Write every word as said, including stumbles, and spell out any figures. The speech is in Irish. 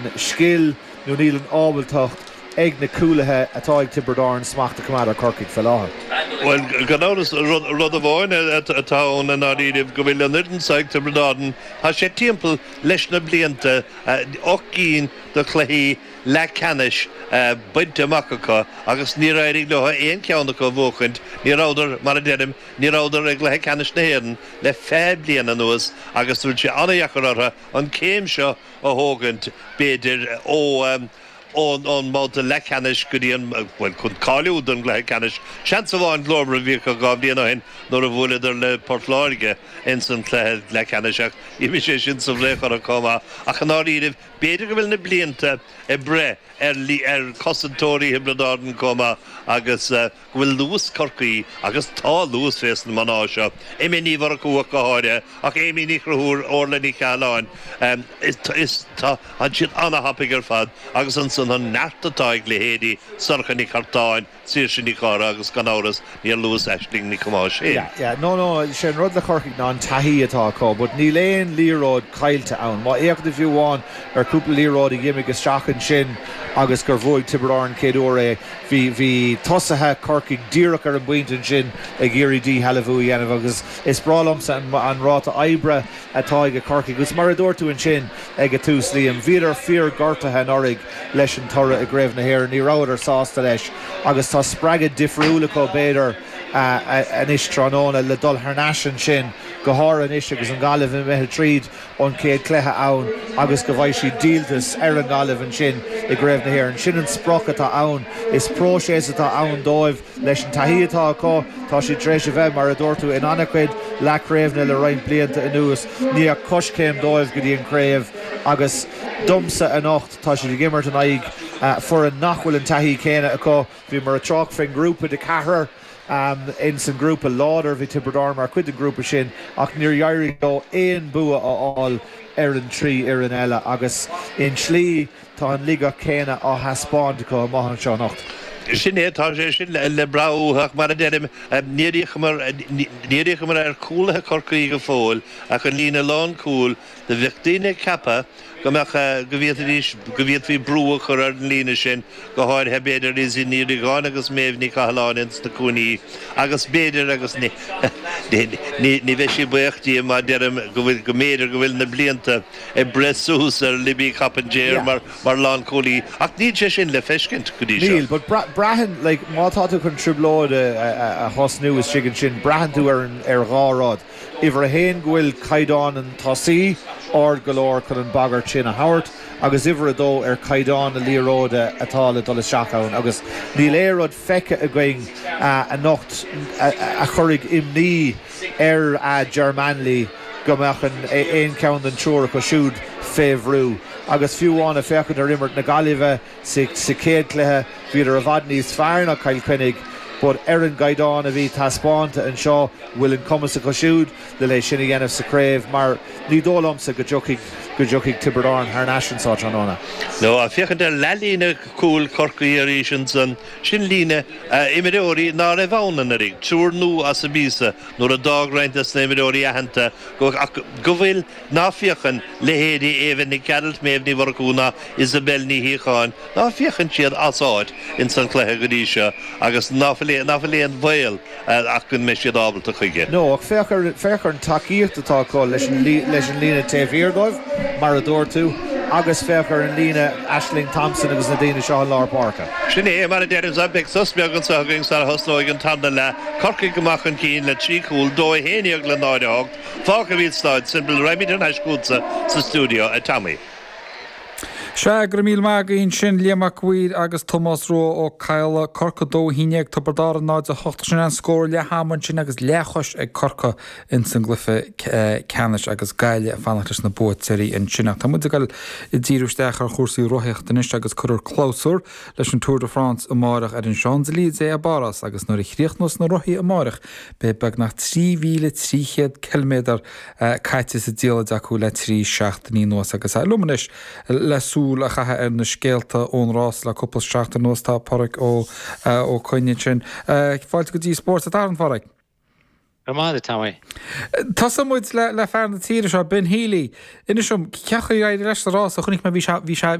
an scil nó níl an ábaltacht ag na cúlaithe atá ag Tiobraid Árann smacht a choimeád ar Corcaigh fé láthair. Well gan amhras rud amháin atá ann i ndáiríribh go bhfuil an fhoireann seo ag Tiobraid Árann tá sé timpeall leis na blianta ocht gcinn de chluichí leathcheannais bainte amach acu agus níor éirigh leo aon cheann acu a bhuachaint. Ní rabhadar, mar a deirim, ní rabhadar i gcluiche ceannais na hÉireann le fiche bliain anuas agus bhfuil sé an-dheacair orthu an céim seo a thógaint b'fhéidir ó ón ón mbabhta leathcheannais go dtí an bhuel chun cáiliú don gcluiche ceannais. Seans amháin glórmhar a bhí acu dhá bhliain ó shin nuair a bhuaileadar le Port Láirge ins an chluiche leathcheannais ach d'imigh sé sin sa bhfraoch orthu chomh maith. Ach i ndáiríribh b'fhéidir go bhfuil na blianta ag breith ar ar chosantóirí Thiobraid Árann chomh maith agus go bhfuil luas Chorcaí agus tá luas fés na mná seo. Emma Ní Mhurchú ach go háirithe ach Amy Ní Chonchúir, Orla Ní Chathalláin is is tá siad an-thapaidh ar fad agus ansan an neart atá ag leithéidí Sorcha Ní Chartáin, Saoirse Ní Chártha agus gan amhras níor luas Aisling Nic Thomáis féin. Yeah, yeah, no, no, sé an rud le Corcaigh ná an taithí atá acu, but níl aon liathróid caillte ann. Má fhéachann tú fiú amháin ar cúpla liathróid a d'imigh isteach ansin agus gur bhuaigh Tiobraid Árann chéad uair é, bhí bhí tosaithe Corcaigh díreach ar an bpointe ansin ag iarraidh díshealbhú a dhéanamh agus is breá liomsa an, an ráta oibre atá ag Corcaigh agus mar a dúirt tú ansin ag an tús Liam, bhíodar fíorghortaithe anuraidh leis an toradh i gCraobh na hÉireann, ní rabhadar sásta leis agus tá spreagadh difriúil acu b'fhéidir anois tráthnóna le dul thar n-ais ansin go háirithe anois agus an Ghaillimh imithe tríd an chéad chluiche ann agus go bhfaighidh siad díoltas ar an nGaillimh ansin i gCraobh na hÉireann. Sin an sprioc atá ann. Is próiseas atá ann dóibh leis an taithí atá acu, tá siad tar éis a bheith mar a dúirt tú in an-chuid leathchraobhanna le roinnt blianta anuas, ní ach coiscéim dóibh go dtí an chraobh agus domsa anocht tá siad ag imirt in aghaidh foireann nach bhfuil an taithí céanna acu. Bhíomar ag trácht faoin ngrúpa de ceathrar um, in san grúpa láidir bhí Tiobraid Árann mar chuid den grúpa sin ach níor éirigh leo aon bua a fháil ar an trí fhoireann eile agus i slí tá an laigeacht céanna á thaispeáint acu amach anseo anocht. Sin é tá sé sin le brath mar a deirim níor fhéachamar ar chúlaithe Chorcaí go fóill ach an líne lánchúil do bheadh daoine ceaptha go mbeadh go bhféadfaidís go bhféadfaí brú a chur ar an líne sin go háirithe b'fhéidir Lizzie Ní Riagáin agus Méabh Ní Chathalláin ins na cúinní agus b'fhéidir agus ní ní bheidh sí buíoch díom má deirim go bhfuil go mb'fhéidir go bhfuil na blianta ag breith suas ar Libby Coppinger mar mar lánchúlaí ach níl sé sin le feiscint go dtí seo. Níl, but braitheann like, má tá tú chun trioblóid a thosnú istigh ansin braitheann tú ar ar dhá rud. Uimhir a haon go bhfuil caighdeán an tosaí ard go leor chun an bagairt sin a thabhairt agus uimhir a dó ar caighdeán na liathróide atá le dul isteach ann agus níl aon rud feicthe againn anocht a chuirfidh imní ar Ger Manley go mbeadh an aon cheann den triúr acu siúd fé bhrú. Agus fiú amháin ag féachaint ar imirt na Gaillimhe sa chéad chluiche bhíodar i bhfad níos fearr ná Cill Chainnigh, but ar an gcaighdeán a bhí taispeánta anseo bhfuil an cumas acu siúd le lé sin a dhéanamh sa chraobh mar ní dóigh liomsa go dtiocfaidh go dtiocfaidh Tiobraid Árann thar n-ais anseo tráthnóna. No féachaint ar leathlíne cúil Chorcaí arís ansan sin líne imreoirí ná raibh ann anuraidh, triúr nua as an bpíosa nuair a d'fhág roinnt des na imreoirí aitheanta go ach go bhfuil ná féachann leithéidí Éabha Nic Gearailt, Méabh Ní Mhurchú ná Isabel Ní Shíocháin, ná féachann siad as áit ins an chluiche go dtí seo agus ná fuil ná fuil aon bhaol ach go mbeidh siad ábalta chuige. No, ach féach ar féach ar an tacaíocht atá acu leis an leis an líne taobh thiar dóibh, mar a dúirt tú, agus féach ar an líne Aisling Thompson agus na daoine seo i lár páirce. Sin é mar a deirim beidh sos beag anseo againn sara thosnóidh an tarna leath, Corcaigh amach chun cinn le trí chúl, dó a haon déag le náid a hocht, fágtha i Staid Semple raghaimid ar ais chugatsa sa stiúideo a Tommy. Sea go raibh míle maith agaibh ansin Liam Mac Uidhir agus Tomás Rua Ó Cadhla Corcaigh dó a haon déag Tiobraid Árann náid a hocht sin an scór leath ama ansin agus leathchois ag Corcaigh ins an gcluiche ceannais agus Gaillimh ag fanacht leis na buaiteoirí ansin ach tá muid ag dul ag díriú isteach ar chúrsaí rothaíochta anois agus cuirfear clabhsúr leis an Tour de France amárach ar an Champs-Élysées i bPáras agus nuair a chríochnós na rothaí amárach beidh beagnach trí mhíle trí chéad ciliméadar caite sa diallait acu le trí seachtainí anuas agus liom anois le súil a chaitheamh ar na scéalta ón rás le cúpla seachtain anuas tá Pádraig Ó Ó Coinn ansin. Fáilte go dtí Spórt an tSathairn Phádraig. Go maith Tommy. Tosóidh muid le le fear na tíre seo Ben Healy. Inis dom cén chaoi ar éirigh leis sa rás a chonaic mé bhí sé bhí sé bhí